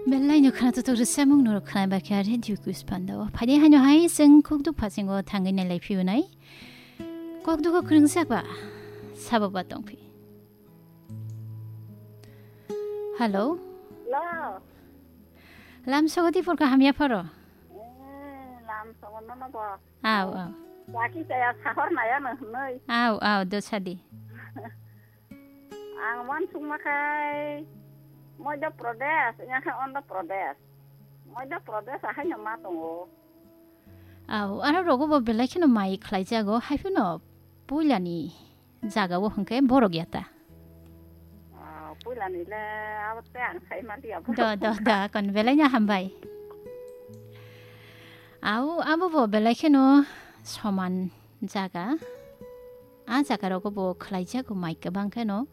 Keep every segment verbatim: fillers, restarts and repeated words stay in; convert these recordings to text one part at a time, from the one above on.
Belai no khana tutuk rwchapmung norok khna bakha radio quiz panda o. Phaidi haino hai chwng kokduk phasingo thangwi nailai phiyunai. Kokduk o kwrwngjak ba sabo ba tongphi. Hello. Hello. Lam sogo di purka hamya pharo. Eh, lam sogo no no bo. Aw, aw. Waki chaya sahor naya no hnoi. Aw, aw, do sadi. Ang wan sungma khai Madhya Pradesh, yang khai Andhra Pradesh. Madhya Pradesh ahai no ma tongo. Aw, aro rogo bo belai kheno mai khlai jago, hai phano puilani jaga o hwnkhe borok ya ta. Ah, puilani le abo te ang sai ma liya bo. Do, do, do, kon belai no hambai. Aw, abo bo belai kheno soman jaga. A jaga rogo bo khlai jago mai kwbang kheno.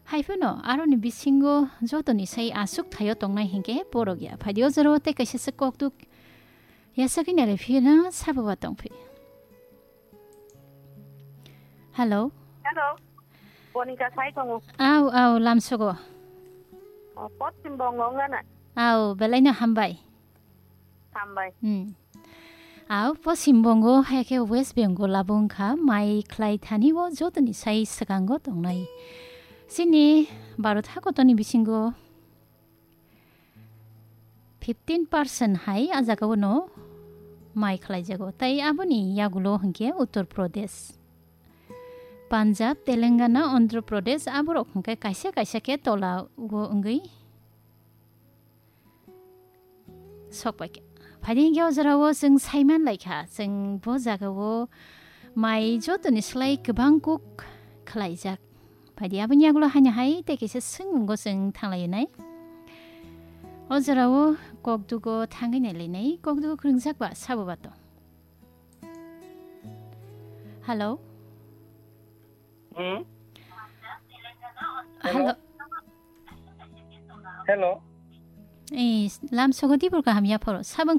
Hai phano aroni bisingo jotoni sai aswk thaio tongnai hinkhe borok ya. Phaidi o jora o tei kaisa se kokduk ya sagwi nai le phiyano sabo ba tongphi. Hello. Hello. Bonika sai tongo. Aw, aw, lamsogo. O, Poschim Bongo wngana. Aw, belai no hambai. Hambai. Hmm. Aw, Poschim Bongo hai khe West Bengal abo wngkha mai khlai thani o jotoni sai swkango tongnai. Chini Bharat hakotoni bisingo fifteen percent hai a jaga o no mai khlai jago. Tai aboni yagulo hwnkhe Uttar Pradesh, Punjab, Telangana, Andhra Pradesh aborok hwnkhe kaisa kaisa khe tola o wngwi sok pai kha. Phaidi hwnkhe o jora o chwng saiman lai kha, chwng bo jaga o mai jotoni slai kwbang kuk khlai jak. Phaidi aboni yagulo haino hai tei kaisa swngmungo chwng thang lai nai. O jora o kokduk o thangwi nai lai nai, kokduk o kwrwngjak ba sabo ba tong. Hello. Hmm? Hello. Hello. Hello. Eh, lamsogo di purka hamya phoro. Sabang